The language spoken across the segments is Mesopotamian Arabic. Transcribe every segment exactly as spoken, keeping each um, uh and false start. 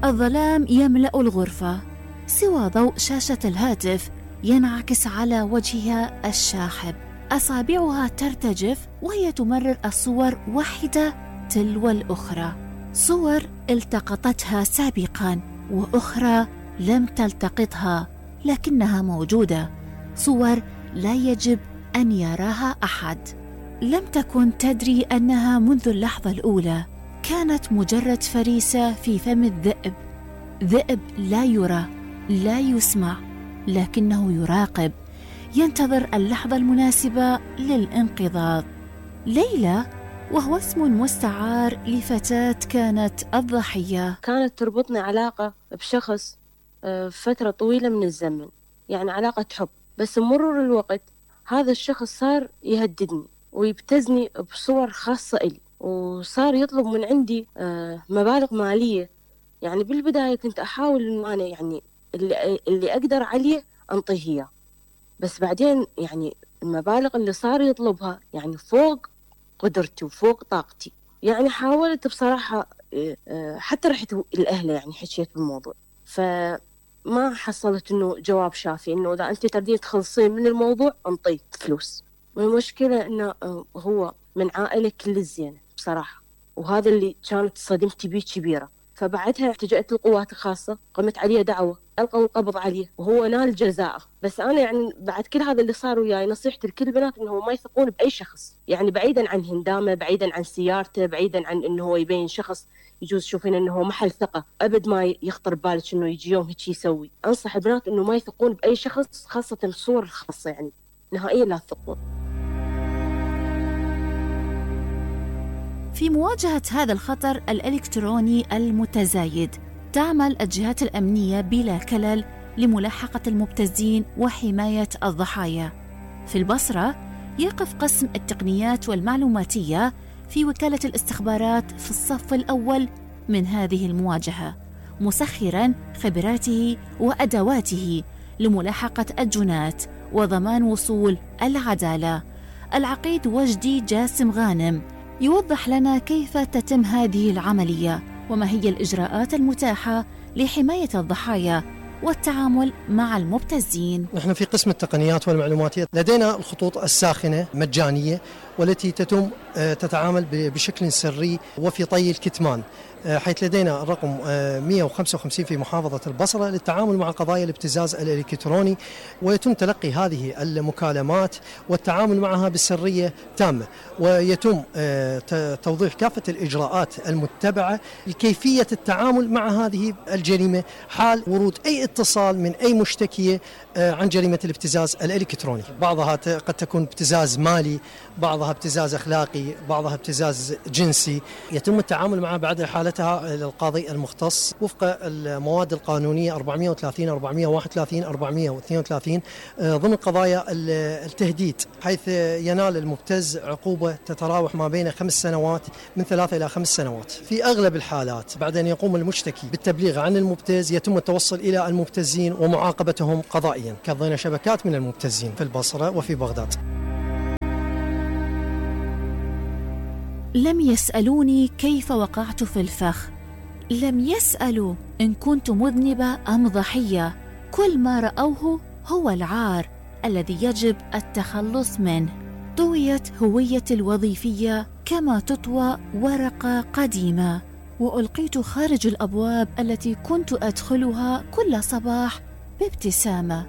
الظلام يملأ الغرفة سوى ضوء شاشة الهاتف ينعكس على وجهها الشاحب. أصابعها ترتجف وهي تمرر الصور واحدة تلو الأخرى، صور التقطتها سابقاً وأخرى لم تلتقطها لكنها موجودة، صور لا يجب أن يراها أحد. لم تكن تدري أنها منذ اللحظة الأولى كانت مجرد فريسة في فم الذئب، ذئب لا يرى لا يسمع لكنه يراقب، ينتظر اللحظة المناسبة للانقضاض. ليلى وهو اسم مستعار لفتاة كانت الضحية. كانت تربطني علاقة بشخص فترة طويلة من الزمن، يعني علاقة حب، بس مرور الوقت هذا الشخص صار يهددني ويبتزني بصور خاصة إلي، وصار يطلب من عندي مبالغ مالية. يعني بالبداية كنت أحاول إنه أنا يعني اللي, اللي أقدر عليه أنطيه إياه، بس بعدين يعني المبالغ اللي صار يطلبها يعني فوق قدرتي وفوق طاقتي. يعني حاولت بصراحة، حتى رحت الأهل يعني حكيت بالموضوع، فما حصلت إنه جواب شافي إنه إذا أنت تردين تخلصين من الموضوع أنطيك فلوس. والمشكلة إنه هو من عائلة كل الزينة بصراحة، وهذا اللي كانت صدمتي بيه كبيرة. فبعدها التجأت للقوات الخاصة، قمت عليه دعوة، ألقوا القبض عليه وهو نال جزاءه. بس أنا يعني بعد كل هذا اللي صار وياي نصيحتي لكل البنات إنه ما يثقون بأي شخص، يعني بعيدا عن هندامه، بعيدا عن سيارته، بعيدا عن إنه هو يبين شخص يجوز تشوفين إنه هو محل ثقة، أبد ما يخطر بالك إنه يجي يوم هيك يسوي. أنصح البنات إنه ما يثقون بأي شخص، خاصة الصور الخاصة، يعني نهائيا لا تثقون. في مواجهة هذا الخطر الإلكتروني المتزايد تعمل الجهات الأمنية بلا كلل لملاحقة المبتزين وحماية الضحايا. في البصرة يقف قسم التقنيات والمعلوماتية في وكالة الاستخبارات في الصف الأول من هذه المواجهة، مسخراً خبراته وأدواته لملاحقة الجنات وضمان وصول العدالة. العقيد وجدي جاسم غانم يوضح لنا كيف تتم هذه العملية وما هي الإجراءات المتاحة لحماية الضحايا والتعامل مع المبتزين. نحن في قسم التقنيات والمعلوماتية لدينا الخطوط الساخنة مجانية والتي تتم تتعامل بشكل سري وفي طي الكتمان، حيث لدينا الرقم مئة وخمسة وخمسين في محافظة البصرة للتعامل مع قضايا الابتزاز الإلكتروني، ويتم تلقي هذه المكالمات والتعامل معها بسرية تامة، ويتم توضيح كافة الإجراءات المتبعة لكيفية التعامل مع هذه الجريمة حال ورود أي اتصال من أي مشتكية عن جريمة الابتزاز الإلكتروني. بعضها قد تكون ابتزاز مالي، بعضها ابتزاز أخلاقي، بعضها ابتزاز جنسي، يتم التعامل معها بعد حالتها للقاضي المختص وفق المواد القانونية أربعمئة وثلاثين أربعمئة وواحد وثلاثين أربعمئة واثنين وثلاثين ضمن قضايا التهديد، حيث ينال المبتز عقوبة تتراوح ما بين خمس سنوات من ثلاثة إلى خمس سنوات. في أغلب الحالات بعد أن يقوم المشتكي بالتبليغ عن المبتز يتم التوصل إلى المبتزين ومعاقبتهم قضائيا. كظينا شبكات من المبتزين في البصرة وفي بغداد. لم يسألوني كيف وقعت في الفخ، لم يسألوا إن كنت مذنبة أم ضحية، كل ما رأوه هو العار الذي يجب التخلص منه. طويت هويتي الوظيفية كما تطوى ورقة قديمة، وألقيت خارج الأبواب التي كنت أدخلها كل صباح بابتسامة.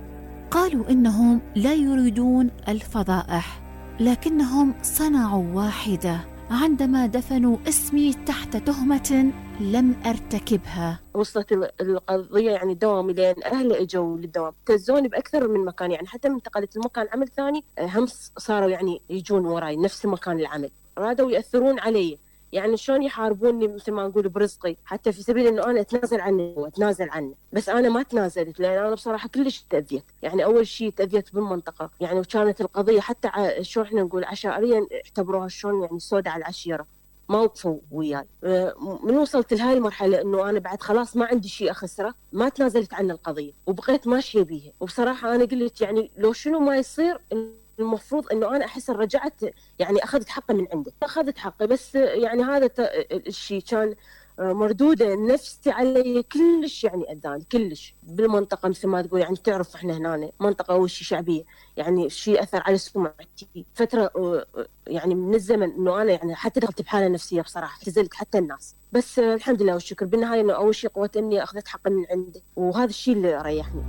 قالوا إنهم لا يريدون الفضائح، لكنهم صنعوا واحدة عندما دفنوا اسمي تحت تهمة لم أرتكبها. وصلت القضية يعني دوامي لين أهل إجوا للدوام، تزوني بأكثر من مكان، يعني حتى من انتقلت المكان عمل ثاني هم صاروا يعني يجون وراي نفس مكان العمل، رادوا يأثرون علي، يعني شلون يحاربوني مثل ما نقول برزقي، حتى في سبيل إنه أنا أتنازل عنه وأتنازل عنه، بس أنا ما تنازلت لأن أنا بصراحة كلش تأذيت. يعني أول شيء تأذيت بالمنطقة، يعني وكانت القضية حتى ع... شو إحنا نقول عشائريا اعتبروها شلون يعني سودة على العشيرة، ما وقفوا وياي. من وصلت لهاي المرحلة إنه أنا بعد خلاص ما عندي شيء أخسره، ما تنازلت عن القضية وبقيت ماشية بيها. وبصراحة أنا قلت يعني لو شنو ما يصير المفروض إنه أنا أحس رجعت يعني أخذت حقي من عنده، أخذت حقي، بس يعني هذا الشيء كان مردودة النفسي علي كلش يعني أذاني كلش بالمنطقة، مثل ما تقول يعني تعرف إحنا هنا منطقة وشي شعبية، يعني شيء أثر على سمعتي فترة يعني من الزمن، إنه أنا يعني حتى دخلت بحالة نفسية بصراحة، اعتزلت حتى الناس. بس الحمد لله والشكر بالنهاية إنه أول شيء قوة إني أخذت حقي من عنده، وهذا الشيء اللي ريحني.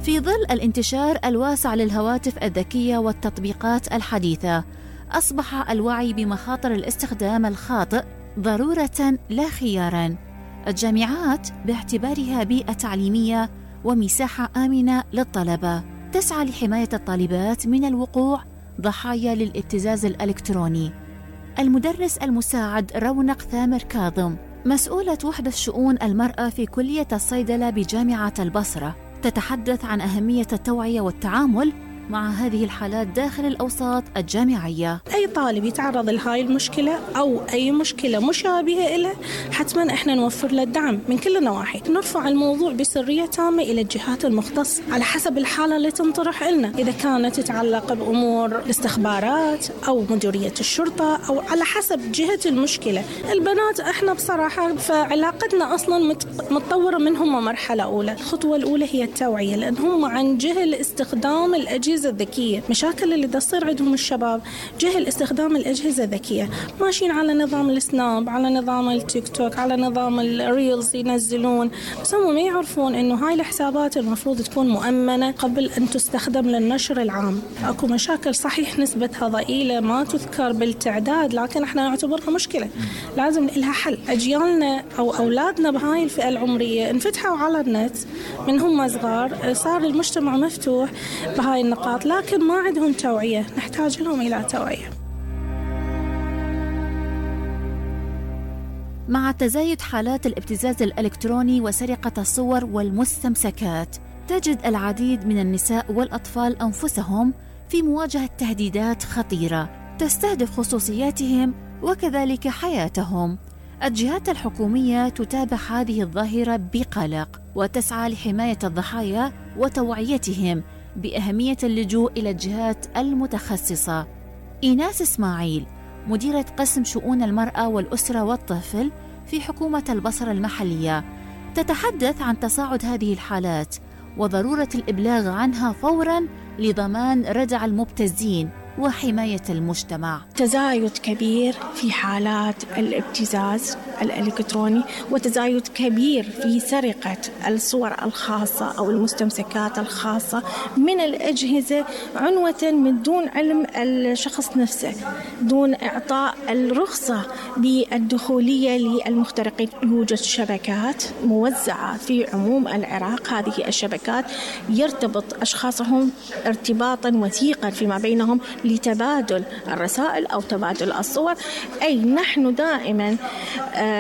في ظل الانتشار الواسع للهواتف الذكية والتطبيقات الحديثة، أصبح الوعي بمخاطر الاستخدام الخاطئ ضرورة لا خياراً. الجامعات باعتبارها بيئة تعليمية ومساحة آمنة للطلبة تسعى لحماية الطالبات من الوقوع ضحايا للابتزاز الإلكتروني. المدرس المساعد رونق ثامر كاظم، مسؤولة وحدة شؤون المرأة في كلية الصيدلة بجامعة البصرة، تتحدث عن أهمية التوعية والتعامل مع هذه الحالات داخل الأوساط الجامعية. أي طالب يتعرض لهاي المشكلة أو أي مشكلة مشابهة له، حتما إحنا نوفر له الدعم من كل النواحي. نرفع الموضوع بسرية تامة إلى الجهات المختصة على حسب الحالة اللي تنطرح لنا، إذا كانت تتعلق بأمور الاستخبارات أو مديرية الشرطة أو على حسب جهة المشكلة. البنات إحنا بصراحة فعلاقتنا أصلا متطورة منهم مرحلة أولى. الخطوة الأولى هي التوعية، لأن هم عن جهل استخدام الأجهزة الذكية. مشاكل اللي تصير عندهم الشباب جهل استخدام الأجهزة الذكية، ماشيين على نظام السناب، على نظام التيك توك، على نظام الريلز ينزلون، بس هم ما يعرفون إنه هاي الحسابات المفروض تكون مؤمنة قبل أن تستخدم للنشر العام. أكو مشاكل صحيح نسبتها ضئيلة ما تذكر بالتعداد، لكن احنا نعتبرها مشكلة لازم لها حل. أجيالنا أو أولادنا بهاي الفئة العمرية انفتحوا على النت من هم صغار، صار المجتمع مفتوح بهاي النقاط، لكن ما عندهم توعية، نحتاج لهم إلى توعية. مع تزايد حالات الابتزاز الإلكتروني وسرقة الصور والمستمسكات، تجد العديد من النساء والأطفال أنفسهم في مواجهة تهديدات خطيرة تستهدف خصوصياتهم وكذلك حياتهم. الجهات الحكومية تتابع هذه الظاهرة بقلق وتسعى لحماية الضحايا وتوعيتهم بأهمية اللجوء إلى الجهات المتخصصة. إيناس إسماعيل، مديرة قسم شؤون المرأة والأسرة والطفل في حكومة البصرة المحلية، تتحدث عن تصاعد هذه الحالات وضرورة الإبلاغ عنها فوراً لضمان ردع المبتزين وحماية المجتمع. تزايد كبير في حالات الابتزاز الإلكتروني، وتزايد كبير في سرقة الصور الخاصة أو المستمسكات الخاصة من الأجهزة عنوة من دون علم الشخص نفسه، دون إعطاء الرخصة بالدخولية للمخترقين. يوجد شبكات موزعة في عموم العراق، هذه الشبكات يرتبط أشخاصهم ارتباطا وثيقا فيما بينهم لتبادل الرسائل أو تبادل الصور. أي نحن دائما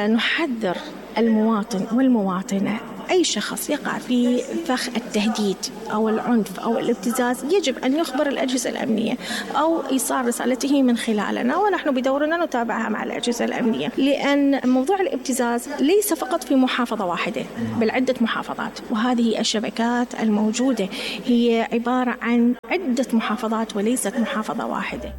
نحذر المواطن والمواطنة، أي شخص يقع في فخ التهديد أو العنف أو الابتزاز يجب أن يخبر الأجهزة الأمنية أو إيصال رسالته من خلالنا، ونحن بدورنا نتابعها مع الأجهزة الأمنية، لأن موضوع الابتزاز ليس فقط في محافظة واحدة بل عدة محافظات، وهذه الشبكات الموجودة هي عبارة عن عدة محافظات وليست محافظة واحدة.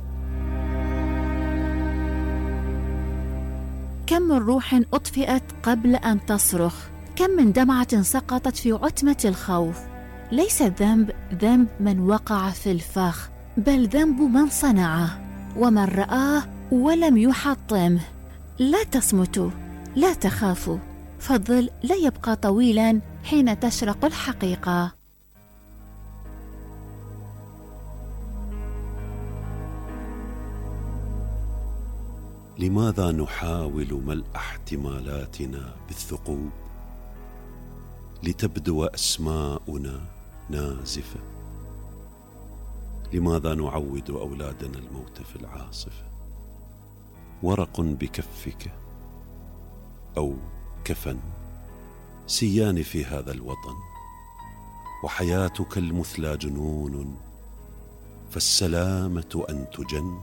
كم من روح أطفئت قبل أن تصرخ، كم من دمعة سقطت في عتمة الخوف. ليس الذنب ذنب من وقع في الفخ، بل ذنب من صنعه ومن رآه ولم يحطمه. لا تصمتوا، لا تخافوا، فالظل لا يبقى طويلا حين تشرق الحقيقة. لماذا نحاول ملء احتمالاتنا بالثقوب لتبدو أسماؤنا نازفة؟ لماذا نعود أولادنا الموت في العاصفة؟ ورق بكفك أو كفن سيان في هذا الوطن، وحياتك المثلى جنون، فالسلامة أن تجن.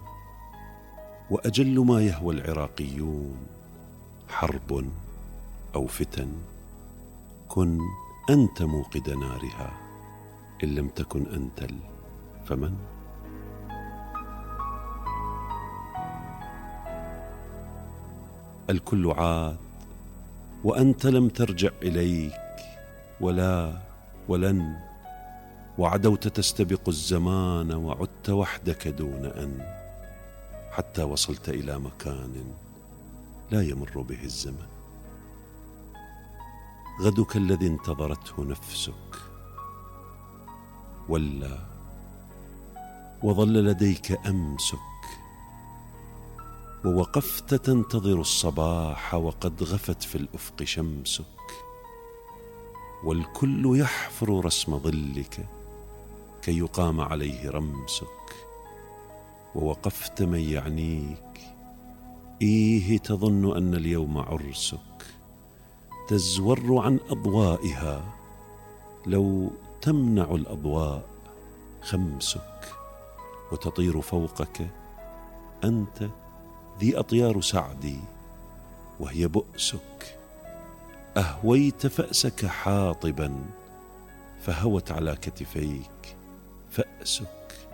وأجل ما يهوى العراقيون حرب أو فتن، كن أنت موقد نارها، إن لم تكن أنت فمن؟ الكل عاد وأنت لم ترجع إليك، ولا ولن، وعدوت تستبق الزمان وعدت وحدك دون أن، حتى وصلت إلى مكان لا يمر به الزمن. غدك الذي انتظرته نفسك ولا، وظل لديك أمسك، ووقفت تنتظر الصباح وقد غفت في الأفق شمسك، والكل يحفر رسم ظلك كي يقام عليه رمسك، ووقفت من يعنيك. إيه تظن أن اليوم عرسك، تزور عن أضوائها لو تمنع الأضواء خمسك، وتطير فوقك أنت ذي أطيار سعدي وهي بؤسك. أهويت فأسك حاطبا فهوت على كتفيك فأسك،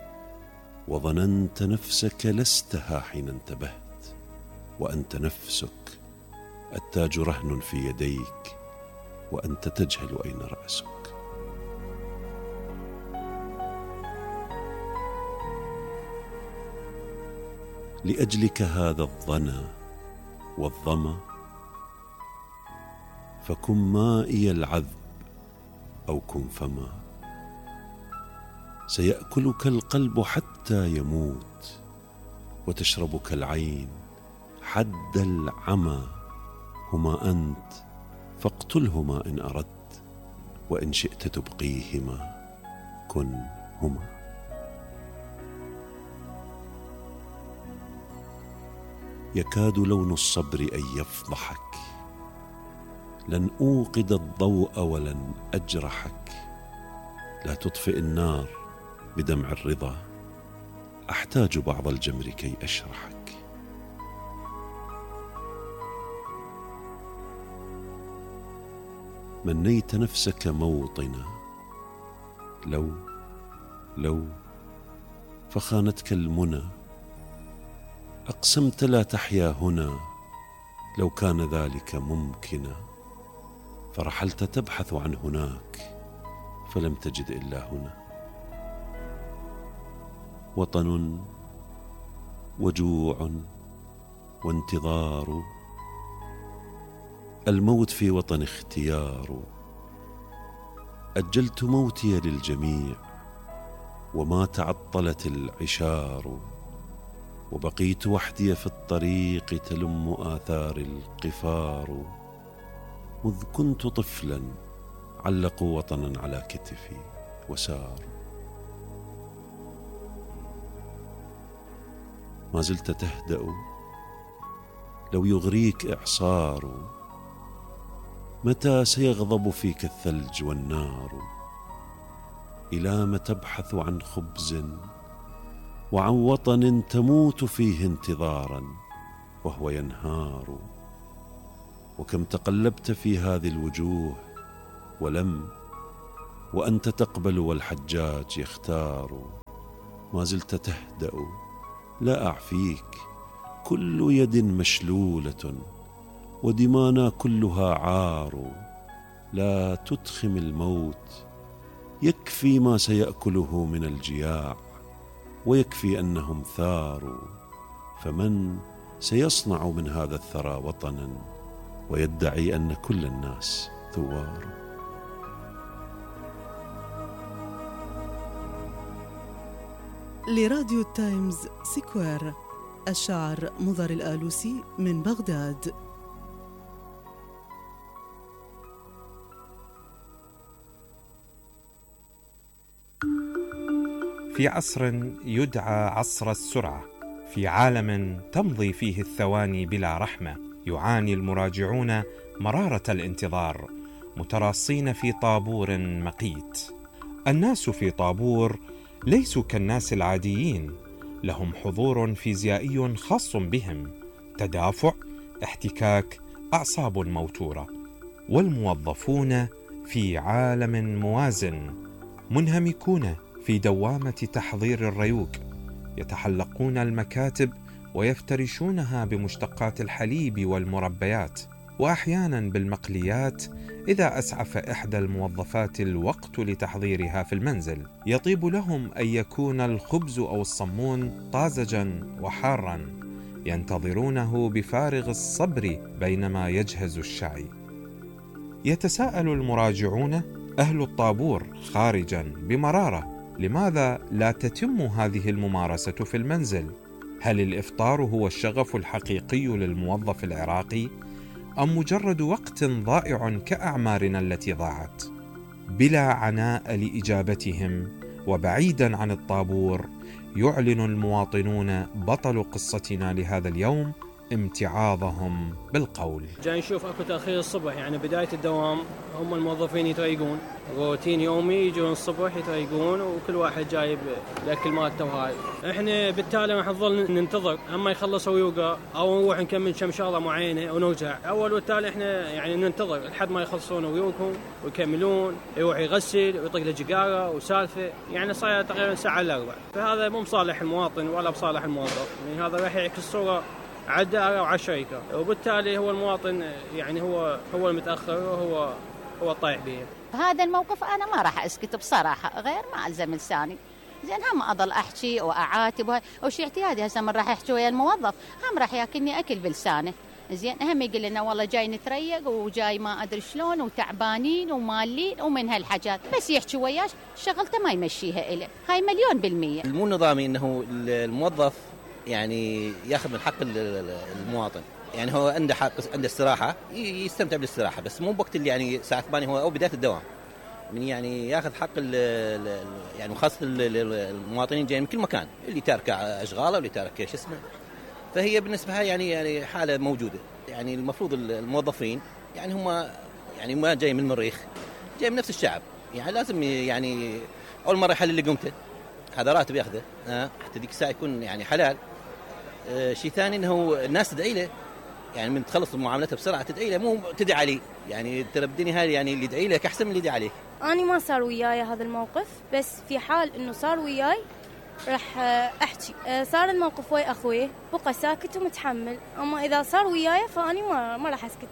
وظننت نفسك لستها حين انتبهت، وأنت نفسك. التاج رهن في يديك وأنت تجهل أين رأسك. لأجلك هذا الظنا والظما، فكن مائي العذب أو كن فما. سيأكلك القلب حتى يموت، وتشربك العين حد العمى. هما أنت فاقتلهما إن أردت، وإن شئت تبقيهما كن هما. يكاد لون الصبر أن يفضحك، لن أوقد الضوء ولن أجرحك. لا تطفئ النار بدمع الرضا، أحتاج بعض الجمر كي أشرحك. منيت نفسك موطنا، لو لو فخانتك المنى. أقسمت لا تحيا هنا، لو كان ذلك ممكنا. فرحلت تبحث عن هناك، فلم تجد إلا هنا. وطن وجوع وانتظار، الموت في وطن اختيار. أجلت موتي للجميع وما تعطلت العشار، وبقيت وحدي في الطريق تلم آثار القفار. مذ كنت طفلا علقوا وطنا على كتفي وسار. ما زلت تهدأ لو يغريك إعصار. متى سيغضب فيك الثلج والنار؟ إلى ما تبحث عن خبز وعن وطن تموت فيه انتظارا وهو ينهار؟ وكم تقلبت في هذه الوجوه ولم، وأنت تقبل والحجاج يختار. ما زلت تهدأ لا أعفيك، كل يد مشلولة ودمانا كلها عار. لا تدخم الموت، يكفي ما سيأكله من الجياع، ويكفي أنهم ثاروا. فمن سيصنع من هذا الثرى وطنا ويدعي أن كل الناس ثوار؟ لراديو التايمز سكوير، الشاعر مضر الآلوسي من بغداد. في عصر يدعى عصر السرعة، في عالم تمضي فيه الثواني بلا رحمة، يعاني المراجعون مرارة الانتظار متراصين في طابور مقيت. الناس في طابور ليسوا كالناس العاديين، لهم حضور فيزيائي خاص بهم، تدافع، احتكاك، أعصاب موتورة. والموظفون في عالم موازن، منهمكون في دوامة تحضير الريوق، يتحلقون المكاتب ويفترشونها بمشتقات الحليب والمربيات، وأحيانا بالمقليات إذا أسعف إحدى الموظفات الوقت لتحضيرها في المنزل. يطيب لهم أن يكون الخبز أو الصمون طازجا وحارا، ينتظرونه بفارغ الصبر بينما يجهز الشاي. يتساءل المراجعون أهل الطابور خارجا بمرارة لماذا لا تتم هذه الممارسة في المنزل؟ هل الإفطار هو الشغف الحقيقي للموظف العراقي أم مجرد وقت ضائع كأعمارنا التي ضاعت؟ بلا عناء لإجابتهم وبعيدا عن الطابور، يعلن المواطنون بطل قصتنا لهذا اليوم امتعاضهم بالقول. جاي نشوف اكو تاخير الصبح، يعني بدايه الدوام هم الموظفين يتريقون روتين يومي، يجون الصبح يتريقون وكل واحد جايب الاكل مالته وهاي. احنا بالتالي راح نظل ننتظر اما يخلصوا ويوقع او نروح نكمل كم شغله معينه ونرجع. اول والتالي احنا يعني ننتظر لحد ما يخلصون ويوقعون ويكملون، يروح يغسل ويطق له جقاره وسالفه، يعني صاير تقريبا ساعه الا ربع. فهذا مو بصالح المواطن ولا بصالح الموظف، يعني هذا راح يعكس صوره على الدائرة وعلى الشركة، وبالتالي هو المواطن يعني هو هو المتأخر وهو هو الطايح به. هذا الموقف أنا ما راح أسكت بصراحة، غير ما ألزم لساني. زين هم أضل أحكي وأعاتب وشي اعتيادي، هسه من راح أحكي ويا الموظف هم راح ياكلني أكل بلسانه. زين هم يقول لنا والله جاي نتريق وجاي ما أدري شلون وتعبانين ومالين ومن هالحاجات، بس يحكي وياش شغلته ما يمشيها إله، هاي مليون بالمية. المو نظامي إنه الموظف يعني ياخذ من حق المواطن، يعني هو عنده حق عنده استراحه يستمتع بالاستراحه، بس مو بوقت اللي يعني الساعه ثمانية هو او بدايه الدوام، من يعني ياخذ حق ال يعني خاصه المواطنين جايين من كل مكان، اللي تارك اشغاله واللي تارك شو اسمه. فهي بالنسبه لها يعني يعني حاله موجوده، يعني المفروض الموظفين يعني هم يعني ما جاي من المريخ، جاي من نفس الشعب، يعني لازم يعني اول مره يحل اللي قمته، هذا راتب ياخذه ها حتى ذيك الساعه يكون يعني حلال. آه شيء ثاني انه الناس تدعي له، يعني من تخلص معاملته بسرعه تدعي له، مو تدعي عليه، يعني ترى بالدنيا هاي يعني اللي يدعي لك احسن من اللي يدعي عليك. انا ما صار وياي هذا الموقف، بس في حال انه صار وياي راح احكي. آه صار الموقف ويا اخوي بقى ساكت ومتحمل، اما اذا صار وياي فاني ما ما راح اسكت.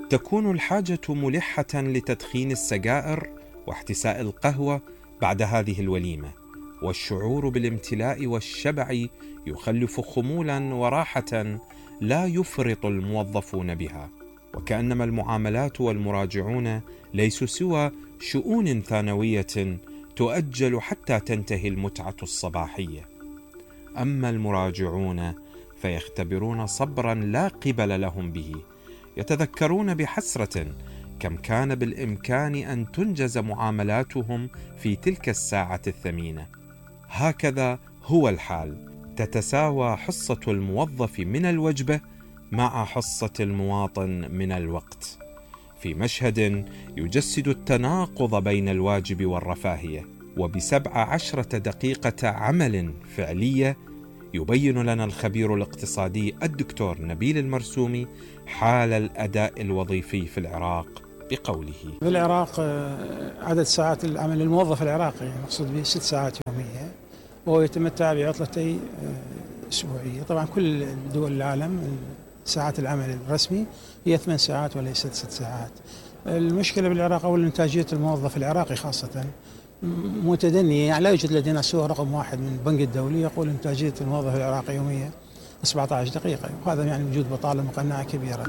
تكون الحاجه ملحه لتدخين السجائر واحتساء القهوه بعد هذه الوليمة، والشعور بالامتلاء والشبع يخلف خمولا وراحة لا يفرط الموظفون بها، وكأنما المعاملات والمراجعون ليسوا سوى شؤون ثانوية تؤجل حتى تنتهي المتعة الصباحية. أما المراجعون فيختبرون صبرا لا قبل لهم به، يتذكرون بحسرة كم كان بالإمكان أن تنجز معاملاتهم في تلك الساعة الثمينة. هكذا هو الحال، تتساوى حصة الموظف من الوجبة مع حصة المواطن من الوقت، في مشهد يجسد التناقض بين الواجب والرفاهية. وبسبع عشرة دقيقة عمل فعلية يبين لنا الخبير الاقتصادي الدكتور نبيل المرسومي حال الأداء الوظيفي في العراق بقوله: في العراق عدد ساعات العمل الموظف العراقي مقصود به ست ساعات يومية، وهو يتمتع بعطلتي أسبوعية. طبعا كل دول العالم ساعات العمل الرسمي هي ثمان ساعات وليست ست ساعات. المشكلة بالعراق أو إنتاجية الموظف العراقي خاصة متدنية، يعني لا يوجد لدينا سوى رقم واحد من البنك الدولي يقول إنتاجية الموظف العراقي يومية سبعة عشر دقيقة، وهذا يعني وجود بطالة مقنعة كبيرة.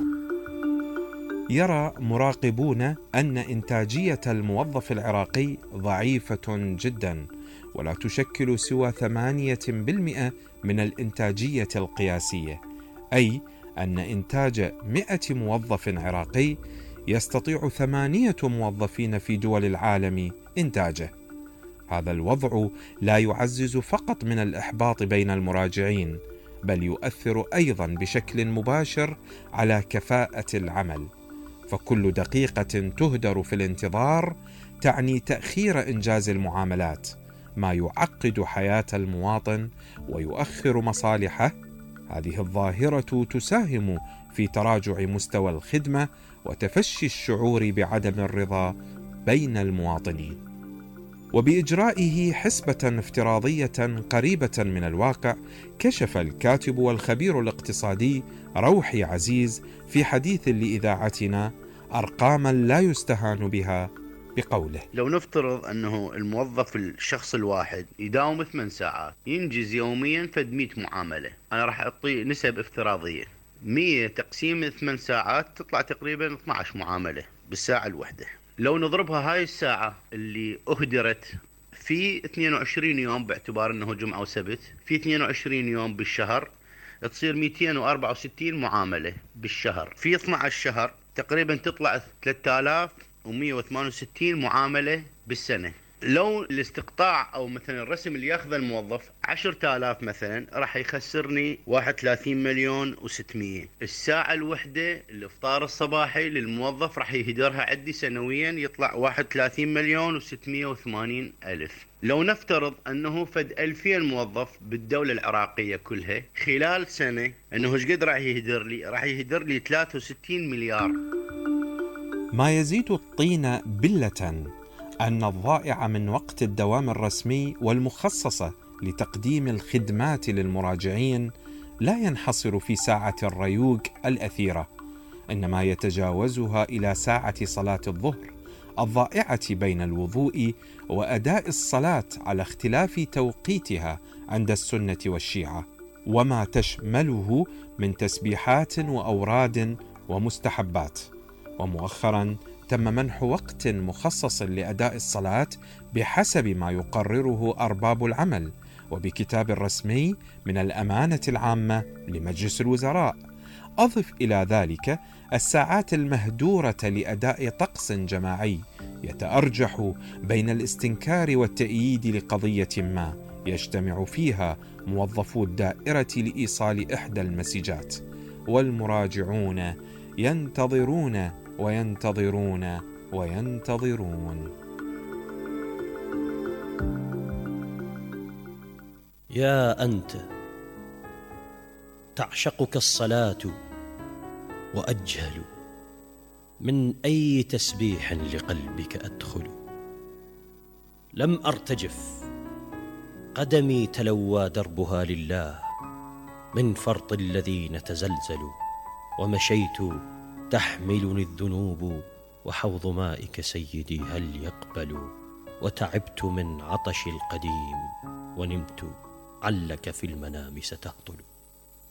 يرى مراقبون أن إنتاجية الموظف العراقي ضعيفة جدا، ولا تشكل سوى ثمانية بالمئة من الإنتاجية القياسية، أي أن إنتاج مئة موظف عراقي يستطيع ثمانية موظفين في دول العالم إنتاجه. هذا الوضع لا يعزز فقط من الإحباط بين المراجعين، بل يؤثر أيضا بشكل مباشر على كفاءة العمل، فكل دقيقة تهدر في الانتظار تعني تأخير إنجاز المعاملات، ما يعقد حياة المواطن ويؤخر مصالحه. هذه الظاهرة تساهم في تراجع مستوى الخدمة وتفشي الشعور بعدم الرضا بين المواطنين. وبإجرائه حسبة افتراضية قريبة من الواقع، كشف الكاتب والخبير الاقتصادي روحي عزيز في حديث لإذاعتنا أرقاما لا يستهان بها بقوله: لو نفترض أنه الموظف الشخص الواحد يداوم ثمان ساعات، ينجز يوميا فد مئة معاملة. أنا راح أعطي نسب افتراضية، مئة تقسيم ثمان ساعات تطلع تقريبا اثنتي عشرة معاملة بالساعة الواحدة. لو نضربها هاي الساعة اللي أهدرت في اثنين وعشرين يوم، باعتبار أنه جمعة وسبت، في اثنين وعشرين يوم بالشهر، تصير مئتين وأربعة وستين معاملة بالشهر. في اثني عشر شهر تقريبا تطلع ثلاثة آلاف ومئة وثمانية وستين معاملة بالسنة. لو الاستقطاع أو مثلا الرسم اللي ياخذ الموظف عشرة آلاف مثلا، راح يخسرني واحد وثلاثين مليون وستمية. الساعة الوحدة الإفطار الصباحي للموظف راح يهدرها عندي سنويا، يطلع واحد وثلاثين مليون وستمية وثمانين ألف. لو نفترض أنه فد ألفين موظف بالدولة العراقية كلها، خلال سنة أنه ايش قد راح يهدر لي؟ راح يهدر لي ثلاثة وستين مليار. ما يزيد الطين بلة أن الضائع من وقت الدوام الرسمي والمخصصة لتقديم الخدمات للمراجعين لا ينحصر في ساعة الريوق الأثيرة، إنما يتجاوزها إلى ساعة صلاة الظهر الضائعة بين الوضوء وأداء الصلاة على اختلاف توقيتها عند السنة والشيعة، وما تشمله من تسبيحات وأوراد ومستحبات. ومؤخرا تم منح وقت مخصص لأداء الصلاة بحسب ما يقرره أرباب العمل وبكتاب رسمي من الأمانة العامة لمجلس الوزراء. أضف إلى ذلك الساعات المهدورة لأداء طقس جماعي يتأرجح بين الاستنكار والتأييد لقضية ما يجتمع فيها موظفو الدائرة لإيصال إحدى المسجات، والمراجعون ينتظرون وينتظرون وينتظرون. يا أنت تعشقك الصلاة وأجهل من أي تسبيح لقلبك أدخل. لم أرتجف قدمي تلوى دربها لله من فرط الذين تزلزلوا، ومشيت تحملني الذنوب وحوض مائك سيدي هل يقبل. وتعبت من عطش القديم ونمت علك في المنام ستهطل.